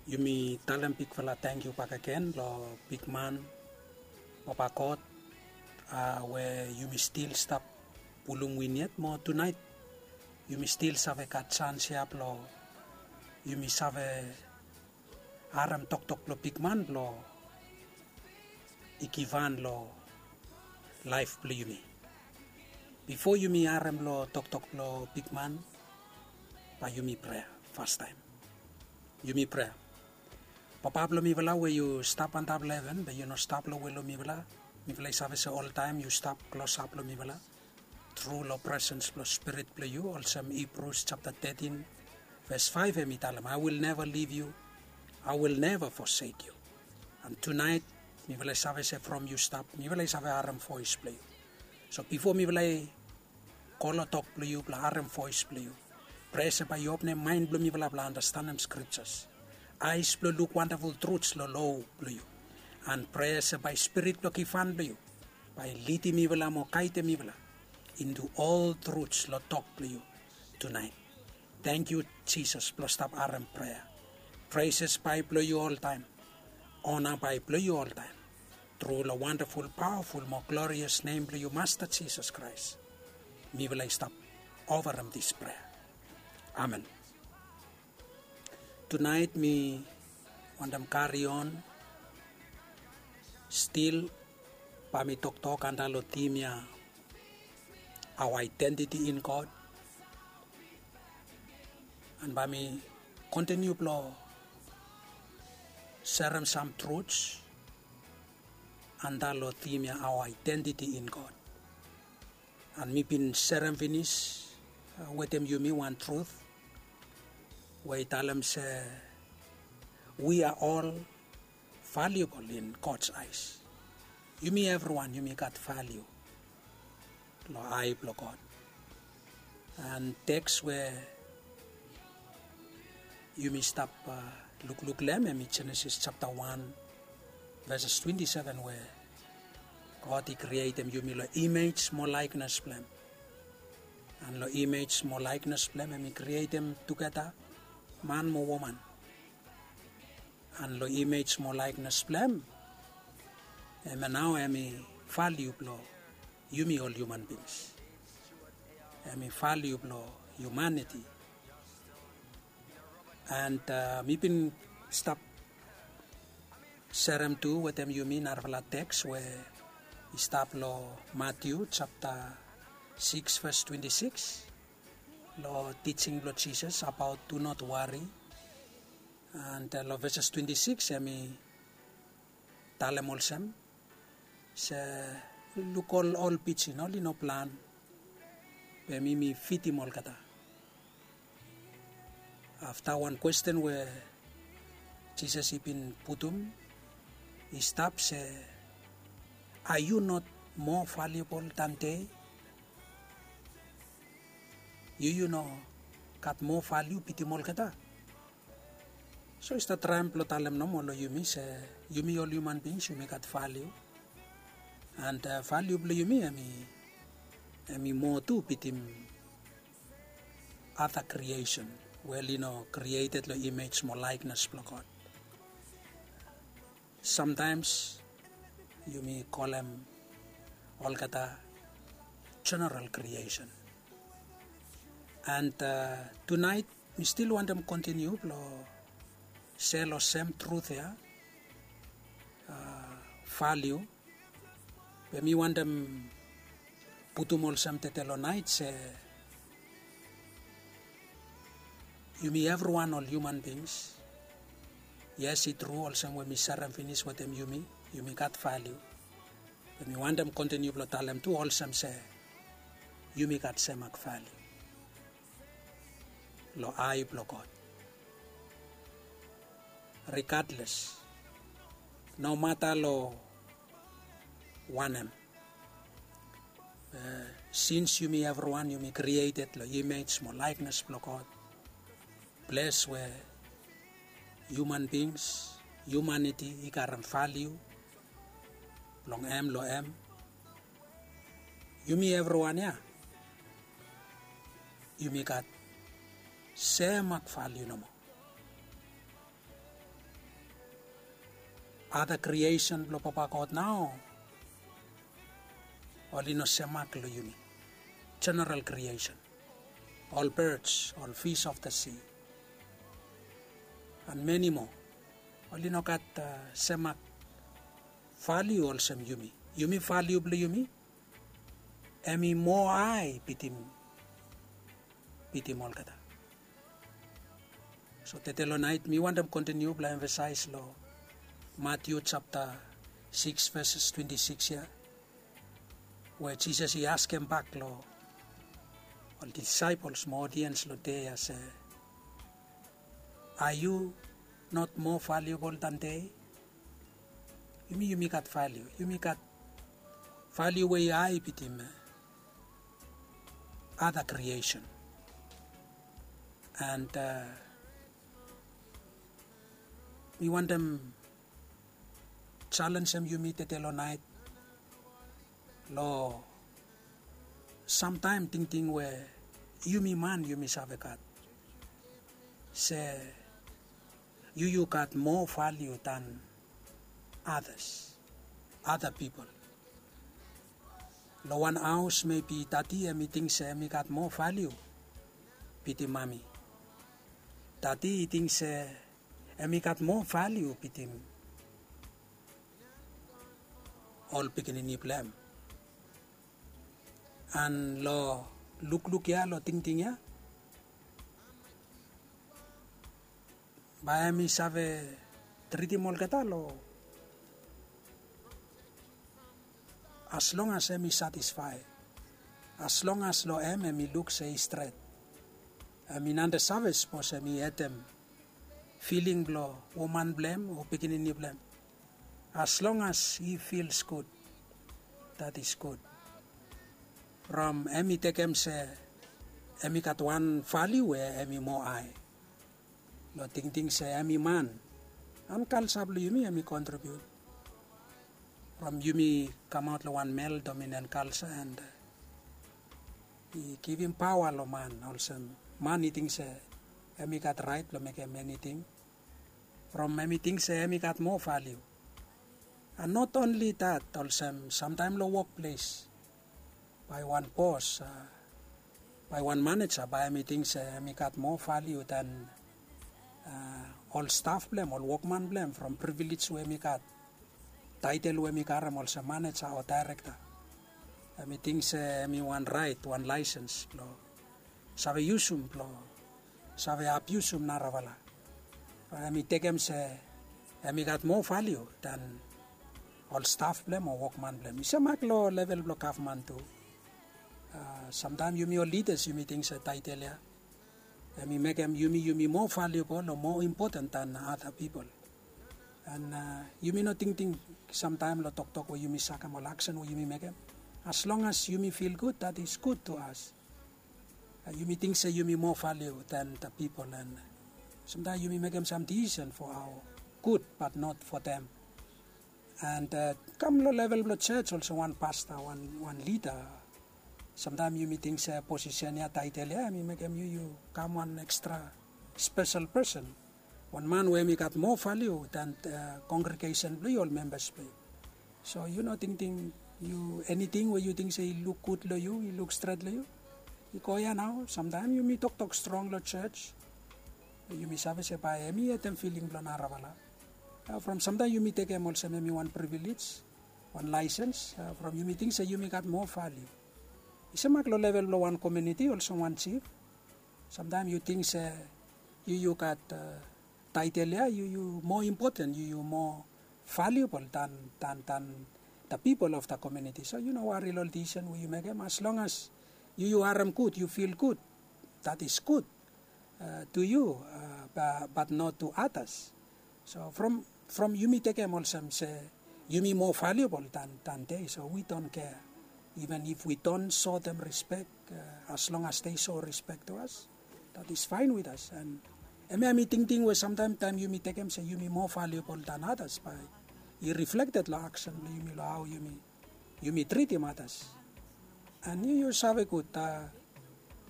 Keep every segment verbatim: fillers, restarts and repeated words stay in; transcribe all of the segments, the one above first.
Yumi talem bigfala tangkiu bakegen long bigman, Papa God, a we yumi stil stap pulum win yet mo tunaet yumi stil save gat sans ya blong yumi save harem toktok blong bigman blong i givhan long laef blong yumi. Bifo yumi harem long toktok blong bigman, bae yumi prea fastaem. Yumi prea. Papa blong mifala we yu stap antap long heven, be yu no stap long we long mifala. Mifala i save se oltaem yu stap klosap long mifala tru long presens blong Spirit blong yu, olsem Hibrus japta tetin ves faef hem i talem, "I will never leave you, I will never forsake you." And tunaet mifala i save se from yu stap mifala i save harem voes blong yu. So bifo mifala i go long tok blong yu blong harem voes blong yu, prea se bae yu openem maen blong mifala blong andastanem skriptas, aes blong luk wandaful truts long lo blong yu. And prea se bae Spirit blong givhan blong yu bae lidim mifala mo gaedem mifala intu ol truts long tok blong yu tunaet. Tangkiu Jisas blong stap harem prea. Preses bae blong yu oltaem. Ona bae blong yu oltaem. Tru long wandaful, pawaful mo glorias nem blong yu, Masta Jisas Kraes, mifala i stap ofarem dis prea. Amen. Tunaet mi wantem karion stil bae mi toktok antap long tim ya, our identity in God. And bae mi kontiniu blong serem sam truts antap long tim ya, our identity in God. And mi bin serem finis wetem yumi wan trut we i talem se we are all valuable in God's eyes. Yumi evriwan yumi gat valiu long ae blong God. And teks we yumi stap lukluk long hem hem i Jenesis japta wan veses twenti seven we God i krietem yumi long imej mo laeknes blong hem. And long imej mo laeknes blong hem hem i krietem tugeta man mo woman. And long imej mo laeknes blong hem, hemia nao hem i valiu blong yumi ol hiuman bings. Hem i valiu blong hiumaniti. And mi bin stap serem tu wetem yumi narafala teks we i stap long Matiu japta sikis ves twenti sikis, long tijing blong Jisas abaot do not worry. And long veses twenti sikis hem i talem olsem se, luk ol ol pijin, oli no plan, be mi mi fidim olgeta. Afta wan kwesten we Jisas i bin putum i stap se, are you not more valuable than they? Yu yu no gat moa valiu bitim olgeta? So i stap traem blong talem nomo long yumi se yumi ol hiuman bings yumi gat valiu. And valiu blong yumi hem i moa tu bitim ada kriesen we oli no krieted long imej mo laeknes blong God. Samtaems yumi kolem olgeta jeneral kriesen. And tunaet mi stil wantem kontiniu blong sel long sem trut ya, valiu. Be mi wantem putum olsem tede long naet se yumi evriwan ol hiuman bings. Yes, i tru olsem we mi serem finis wetem yumi, yumi gat valiu. Be mi wantem kontiniu blong talem tu olsem se yumi gat semak valiu long ae blong God. Rigadles, nomata long wanem, sins yumi evriwan yumi krieted long imej mo laeknes blong God, ples we hiuman bings, hiumaniti i karem valiu blong hem long hem. Yumi evriwan ya yumi gat semak valiu nomo. Ada kriesen blong Papa God nao oli no semak long yumi. Jeneral kriesen, ol birds, ol fish of the sea, and many more, oli no gat semak valiu olsem yumi. Yumi valiu blong yumi em i moa hae bitim bitim olgeta. So tete long nait mi wantem kontiniu blong emfasais long Matiu japta sikis veses twenti sikis ya, we Jisas i askem bak long ol disaepols mo odiens long dei ya se, are yu not moa valiubol dan dei? Yumi yumi gat valiu, yumi gat valiu we i hae bitim ada kriesen. And mi wantem jalenjem yumi tete long nait long samtaem tingting we yumi man yumi save gat se yu yu gat moa valiu dan adas, ada pipol. Long wan haos mebi dadi em i ting se em i gat moa valiu bitim mami. Dadi i ting se em i gat moa valiu bitim ol pikinini blong em. And long lukluk ya, long tingting ya, bae em i save tritim olgeta long as long as em i satisfae, as long as long em em i luk se i stret. Em i nante save sapos em i hetem filing blong woman blong em o pikinini blong em. As long as he feels good, that is good. From em i tekem se em i gat wan valiu we em i moa hae long tingting se em i man. And kalsa blong yumi em i kontribiut from yumi kamaot long wan mel dominen kalsa and i givim paoa long man olsem man i ting se em i gat raet blong mekem eniting. From em i ting se em i gat moa valiu. And not only that, olsem samtaem long wokples bae wan bos, bae wan maneja bae em i ting se em i gat moa valiu dan ol staf blong em, ol wokman blong em, from privilej we em i gat, taetel we em i karem olsem maneja o daerekta. Em i ting se em i wan raet, wan laesens blong save yusum, blong save abiusum narafala. Em i tekem se em i gat moa valiu dan ol staf blong em o wokman blong em. I semak long level blong gavman tu. Samtaem yumi ol lidas yumi ting se taetel ya em i mekem yumi yumi moa valiubol o moa impoten dan ada pipol. And yumi no tingting samtaem long toktok we yumi sakem, ol aksen we yumi mekem, as long as yumi fil gud, that is good to us. Yumi ting se yumi moa valiu dan the pipol, and samtaem yumi mekem sam disisen for our good but not for them. And kam long level blong jos olsem wan pasta, wan lida, samtaem yumi ting se posisen ya, taetel ya em i mekem yu yu kam wan ekstra spesel pesen, wan man we em i gat moa valiu dan kongregesen blong yu, ol membas blong yu. So yu no tingting yu, eniting we yu ting se i luk gud long yu, i luk stret long yu, i go ya nao. Samtaem yumi toktok strong long jos, yumi save se bae em i hetem filing blong narafala. From samtaem yumi tekem olsem em i wan privilej, wan laesens, from yumi ting se yumi gat moa valiu. I semak long level blong wan komuniti olsem wan jif. Samtaem yu ting se yu yu gat taetel ya, yu yu moa impoten, yu yu moa valiubol dan dan dan the pipol of the komuniti. So yu no wari long ol disisen we yu mekem, as long as yu yu harem gud, yu fil gud, that is good to you, but not to others. So from from yumi tekem olsem se yumi moa valiubol dan dan dei, so we don't care. Even if we don't show them respect, as long as they show respect to us, that is fine with us. And hemia mi tingting we samtaem taem yumi tekem se yumi moa valiubol dan others bae i reflekted long aksen blong yumi, long hao yumi yumi tritim others. And yu yu save gud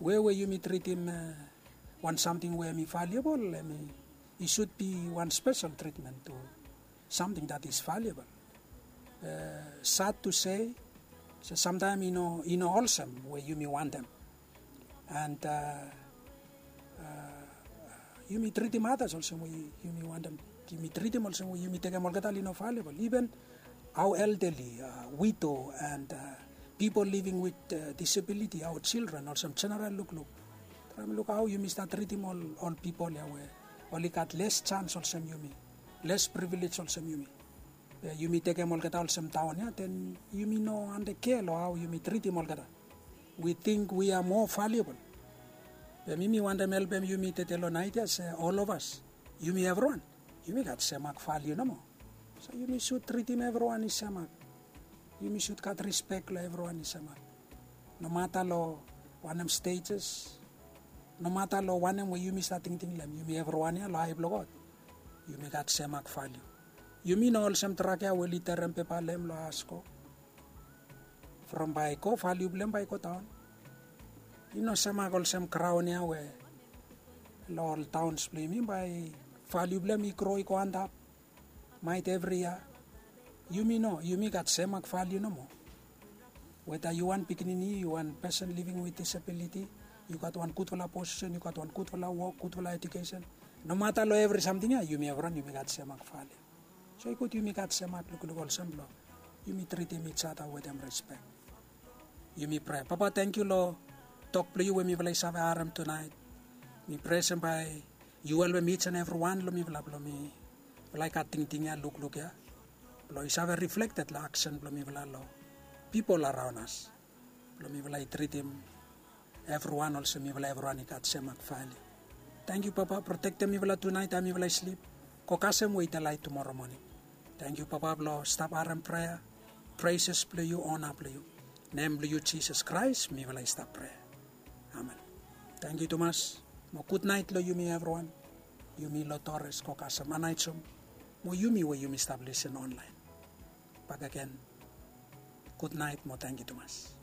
we we yumi tritim wan samting we em i valiubol, em i should be wan spesel tritmen tu. something that is valuable. Sad to say, se samtaem i no olsem we yumi wantem. And yumi tritim atas olsem we yumi wantem. Yumi tritim olsem we yumi tekem olgeta oli no valuable, even our elderly, widow and people living with disability, our children, olsem general lukluk. Traem luk hao yumi stat tritim ol pipol ya we oli gat les jans olsem yumi, les privilege olsem yumi. Be yumi tekem olgeta olsem daon ya, den yumi no ande kea long hao yumi tritim olgeta. We ting we are more valuable. Be mi mi wantem helpem yumi tede long naet ya se ol of as, yumi evriwan, yumi gat semak valiu nomo. So yumi sud tritim evriwan i semak. Yumi sud gat rispek long evriwan i semak. Nomata long wanem status, nomata long wanem we yumi stat tingting long hem, yumi evriwan ya long ae blong God yumi gat semak valiu. Yumi no olsem drak ya we oli terem pepa long hem long asko. From bae i go, valiu blong hem bae i godaon. I no semak olsem graon ya we long ol daons blong yumi bae valiu blong hem i gro i go antap. Maet evri yia. Yumi no, yumi gat semak valiu nomo. Weta yu wan pikinini, yu wan pesen living with disability, yu gat wan gudfala posisen, yu gat wan gudfala wok, gudfala ejukesen, nomata long evri samting ya yumi evriwan yumi gat semak valiu. So i gud yumi gat semak lukluk olsem blong yumi tritim ijada wetem rispek. Yumi prea. Papa, tangkiu long tok blong yu we mifala i save harem tunaet. Mi prea olsem bae yu helpem ij and evriwan long mifala blong mifala i gat tingting ya, lukluk ya, blong i save riflekted long aksen blong mifala long pipol araon as, blong mifala i tritim evriwan olsem mifala evriwan i gat semak valiu. Tangkiu Papa, protektem mifala tunaet taem mifala i slip. Go kasem we i delaet tumora moning. Tangkiu Papa blong stap harem prea, preses blong yu, ona blong yu. Nem blong yu Jisas Kraes mifala i stap prea. Amen. Tangkiu tumas. Mo gudnaet long yumi evriwan. Yumi long Torres, go kasem, anaet som. Mo yumi we yumi stap lisin onlaen. Bakegen, gudnaet mo tangkiu tumas.